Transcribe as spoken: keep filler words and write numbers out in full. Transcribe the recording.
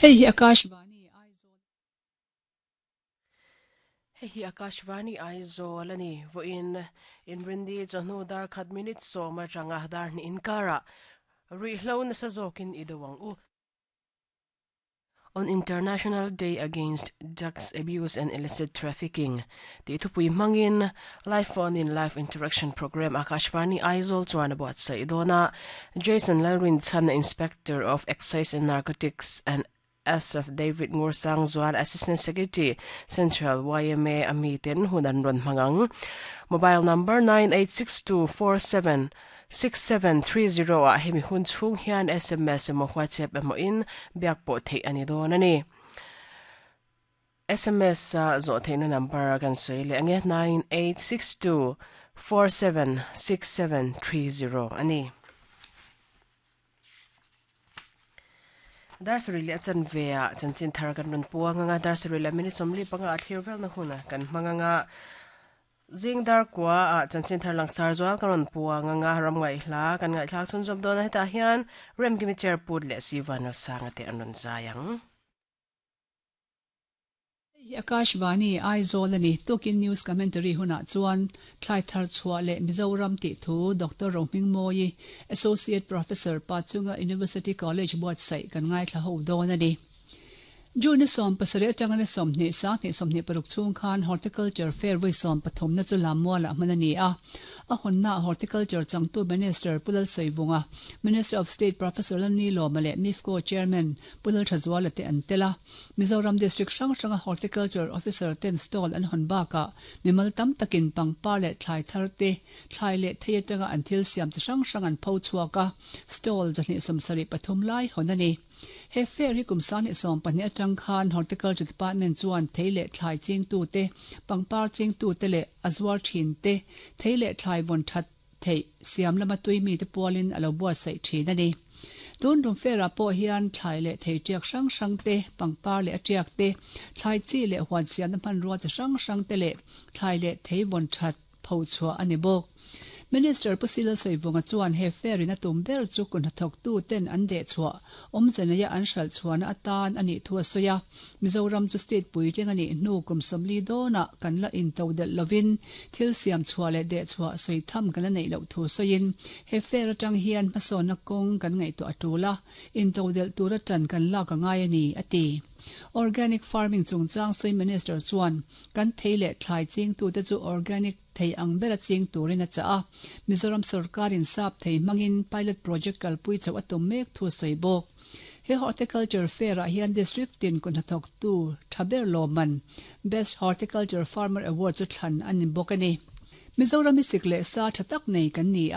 Hei hi Akashvani Aizawl. Hei hi Akashvani Aizawl ani voin inrindi chawhnu dar khat minute sawm atanga dar hnih inkara ruihhlo nasa zawkin i do ang u. On International Day Against Drugs Abuse and Illicit Trafficking tih thupui hmangin live phone in live interaction program Akashvani Aizawl chuan a buatsaih dawn a. Jason Lalrinchhan, Inspector of Excise and Narcotics and S F David Ngursang Zual, Assistant Secretary Central Y M A ami ten hun an rawn hmang ang. Mobile number nine eight six two four seven six seven three zero ah hemi hun chhung hian S M S emaw WhatsApp emaw in biak pawh theih ani dawn ani. S M S a zawh theihna number kan sawi leh ange nine eight six two four seven six seven three zero ani. Dar sarih leh a chanve ah chanchin thar kan rawn puang anga dar sarih leh minute sawmli panga a thlir velna huna kan hmang anga zing dar kua ah chanchin thar langsar zual kan rawn puang anga ram ngaihhla kan ngaihthlak chhun zawm dawn a hetah hian Remkimi chair put leh Sivan Alsanga te an rawn zai ang. Hei hi Akashvani Aizawl ani. Tukin news commentary hunah chuan thlai thar chhuah leh Mizoram tih thu Doctor Rohming Moyi, Associate Professor Pachunga University College buatsaih kan ngaithla ho dawn ani. June sawm pasarih atanga ni sawmhnih sanghnih sawmhnih paruk chhung khan Horticulture Fair vawi sawm pathumna chu Lammualah hman a ni a. A hawnna Horticulture changtu Minister Pulal Soivunga, Minister of State Professor Lalni Lawma leh MIFCO Chairman Pulal Thazuala te an tel a. Mizoram District hrang hranga Horticulture Officer ten stall an hawn bakah mimal tam takin pangpar leh thlai thar te, thlai leh thei atanga an thil siam chi hrang hrang an pho chhuak a. Stall zahnih sawmsarih pathum lai hawn a ni. He fair hi kum sanghnih sawm pahnih atang khan Horticulture Department chuan thei leh thlai chingtu te, pangpar chingtu te leh a zuar thin te, thei leh thlai vawn that thei siam lama tui mi te pualin a lo buatsaih thin a ni. Tun rum fair ah pawh hian thlai leh thei tiak hrang hrang te, pangpar leh a tiak te, thlai chi leh huan siamna hmanrua chi hrang hrang te leh thlai leh thei vawn that pho chhuah a ni bawk. Minister Pusilal Soivunga chuan he fair in a tum ber chu kun hnathawk tu ten an deh chhuah awmzenaya an hral chhuahna atan ani thu a sawi a. Mizoram chu state puitling ani hnu kum sawmli dawnah kan la in to delh lovin thil siam chhuah leh deh chhuah sawi tham kan la neih loh thu sawiin he fair atang hian hmasawnna kawng kan ngaihtuah a tul a, in to delh tur atan kan lak a ngai ani a ti. Organic farming chungchang sawi Minister chuan kan thei leh thlai chingtu te chu organic thei ang ber a ching turin a chah a. Mizoram sarkarin sap thei hmangin pilot project kalpui chauh a tum mek thu sawi bawk. He Horticulture Fair ah hian district tin kun hnathawk tu thaber lawman Best Horticulture Farmer Award chu thlan an ni bawk ani. Mizoram sik leh sa tha tak nei kan ni a.